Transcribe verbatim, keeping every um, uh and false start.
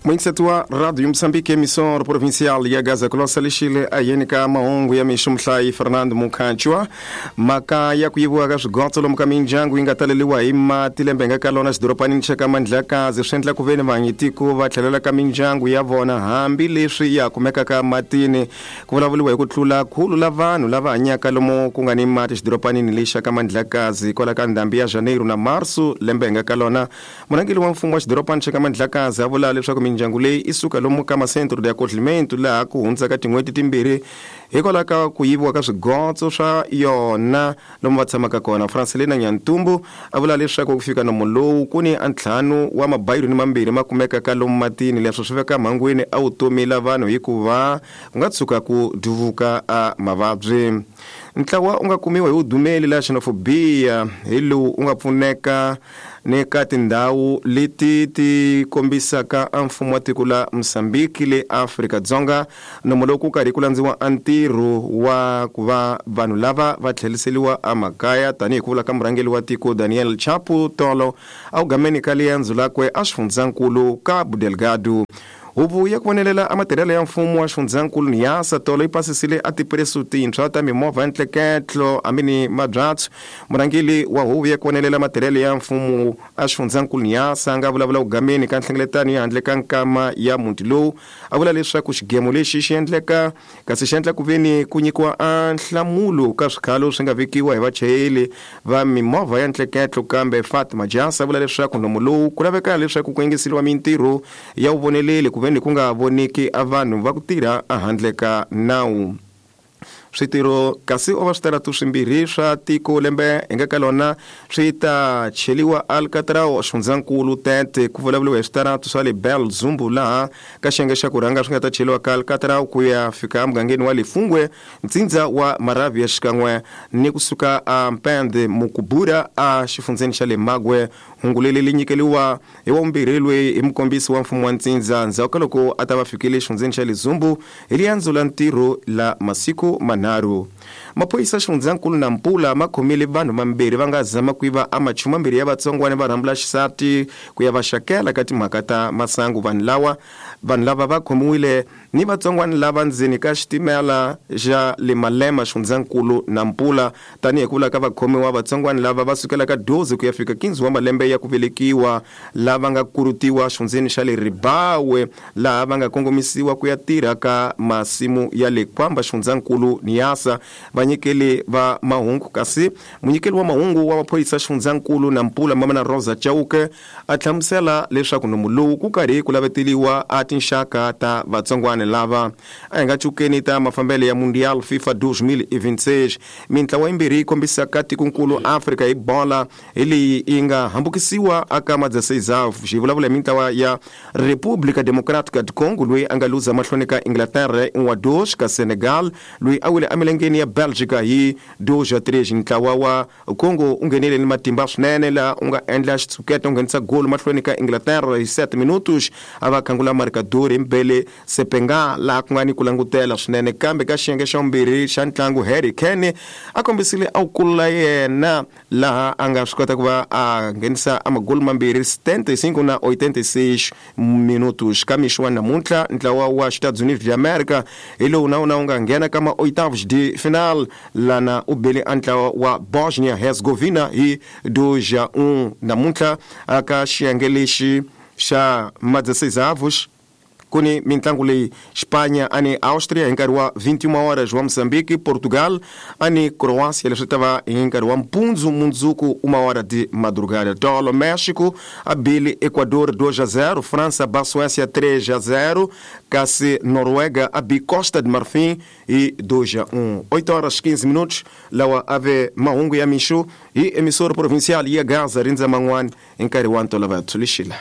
Muingiseti wa Radio Moçambique, emissora provincial ya Gaza Colossa lexile ayeni ka mahungu ya mixo muhlayi Fernando Mukhanchwa. Mhaka ya ku yiviwa ka swigotso lomu ka mindyangu yi nga taleliwa hi mati lembe nga ka lona xidoropanini xa ka Mandlakazi swi endla ku veni vanyitiko va tlhelela ka mindyangu ya vona hambileswi ya kumekaka matini. Ku vulavuriwa hi ku tlula khulu la vanhu lava hanyaka lomu ku nga ni mati xidoropanini lexa ka Mandlakazi kwala ka ndhambi ya Janeiro na Marso lembe nga ka lona. Murhangeri wa mfumo wa xidorobana xa ka Mandlakazi a vula leswaku mindyangu leyi i suka lomu ka masentro de acolhimento laha ku hundzaka tin'hweti timbirhi hikwalaho ka ku yiviwa ka swigotso swa yona lomu va tshamaka kona. Francelina Nyantumbu a vula leswaku ku fika nomo lowu ku ni a ntlhanu wa mabayironi mambirhi ma kumekaka lomu matini, leswo swi veka mhangwini a vutomi la vanhu hikuva ku nga tshuka ku duvuka a mavabyi. Ntlawa u nga kumiwa hi vudumeli la xenofobia hi lowu u nga pfuneka ni ka tindhawu leti ti kombisaka a mfumo wa tiko la Mozambique le Afrika-Dzonga. Nomo lowu ku karhi ku landziwa a ntirho wa ku va vanhu lava va tlheriseriwa emakaya tanihi ku vula ka murhangeri wa tiko Daniel Chapo tolo a wu gameni ka liendzo lakwe a xifundzankulu Cabo Delgado. Huvo ya ku vonelela a matirhelo ya mfumo wa xifundzankulu Niassa tolo yi pasisile a tipresu tintshwa ta mimovha ya ntleketlo hambi ni mabyatso. Murhangeri wa huvo ya ku vonelela matirhelo ya mfumo a xifundzankulu Niassa a nga vulavula kugameni ka nhlengeletano ya handle ka nkama ya muti lowu a vula leswaku xigemo lexi xi endleka kasi xi endla ku veni ku nyikiwa a nhlamulo ka swikhalo swi nga vekiwa hi vachayeri va mimovha ya ntleketlo. Kambe Fatima Jasa a vula leswaku nomo lowu ku laveka leswaku ku engeseriwa mintirho ya vuvoneleli ku veni ku nga voniki a vanhu va ku tirha ehandle ka nawu. Switirho kasi o va switaratu swimbirhi swa tiko lembe hi nga ka lona swi ta cheliwa Alcatrão xifundzankulu Tete. Ku vulavuriwa hi switaratu swa le Bel Zumbu laha ka xiyenge xa ku rhanga swi nga ta cheliwa ka Alcatrão ku ya fika emugangeni wa Lefungwe ntsindza wa Maravia xikan'we ni kusuka a Mpende Mukubura a xifundzeni xa le Magwe. Hungu leri li nyikeliwa hi wa vumbirhi loyi hi mukombisi wa mfumo wa ntsindza ndzhaku ka loko a ta va fikile xifundzeni xa le Zumbu hi riendzo la ntirho la masiku manharhu. Maphorisa xifundzankulu na Mpula ma khomile vanhu vambirhi va nga zama ku yiva a machumu mambirhi ya vatsongwana va rhambula xisati ku ya va xakela ka timhaka ta masangu. Vanhu lawa vanhu lava va khomiwile ni vatsongwana lava ndzeni ka xitimela xa le Malema xifundzankulu na Mpula. Tanihi ku vula ka vakhomiwa vatsongwana lava va sukela ka doze ku ya fika quinze wa malembe ya ku velekiwa lava nga kurutiwa xifundzeni xa le Ribawe laha va nga kongomisiwa ku ya tirha ka masimu ya le Kwamba xifundzankulu Niassa. Vanyikeli va mahungu kasi munyikeli wa mahungu wa maphorisa xifundzankulu na Mpula Mamana Rosa Chauke a hlamusela leswaku nomu lowu ku karhi ku laveteliwa a tinxaka ta vatsongwana lava. A hi nga cukeni ta mafambelo ya Mundial FIFA dois mil e vinte e seis. Mintlawa yimbirhi yi kombisaka tikonkulu Afrika hi bola hi leyi yi nga hambukisiwa aka ma dezesseis xi vulavula hi mintlawa ya República Democrática do Congo loyi a nga luza mahlweni ka Inglaterra um a dois ka Senegal loyi a wile emilengeni ya Bélgica hi dois a três. Ntlawa wa Congo u nghenile ni matimba swinene laha u nga endla xitshuketa u nghenisa golo mahlweni ka Inglaterra hi sete minutos a va khangula marcador hi Mbele Sepenga laha ku nga ni ku langutela swinene. Kambe ka xiyenge xa vumbirhi xa ntlangu Harry Kane a kombisile a wu kulula yena laha a nga swi kota ku va a nghenisa a magolo mambirhi setenta e cinco na oitenta e seis minutos. Ka mixo wa namuntlha ntlawa wa Estados Unidos de América hi lowu na wona wu nga nghena ka ma oitavos de final lana u bele a ntlawa wa Bosnia Herzegovina hi dois a um. Namuntlha aka xiyenge lexi xa ma dezesseis avos ku ni mintlangu leyi Espanha ani Austria hi nkarhi wa vinte e uma horas wa Moçambique, Portugal ani Croácia leswi ta va hi nkarhi wa mpundzu mundzuku uma hora de madrugada. Tolo México a bile Equador dois a zero, França ba Suécia três a zero, kasi Noruega a bi Costa de Marfim e dois a um. oito horas quinze minutos lawa ave mahungu ya mixo hi emissora provincial ya Gaza rindza man'wana hi nkarhi wa ntolovelo lexila.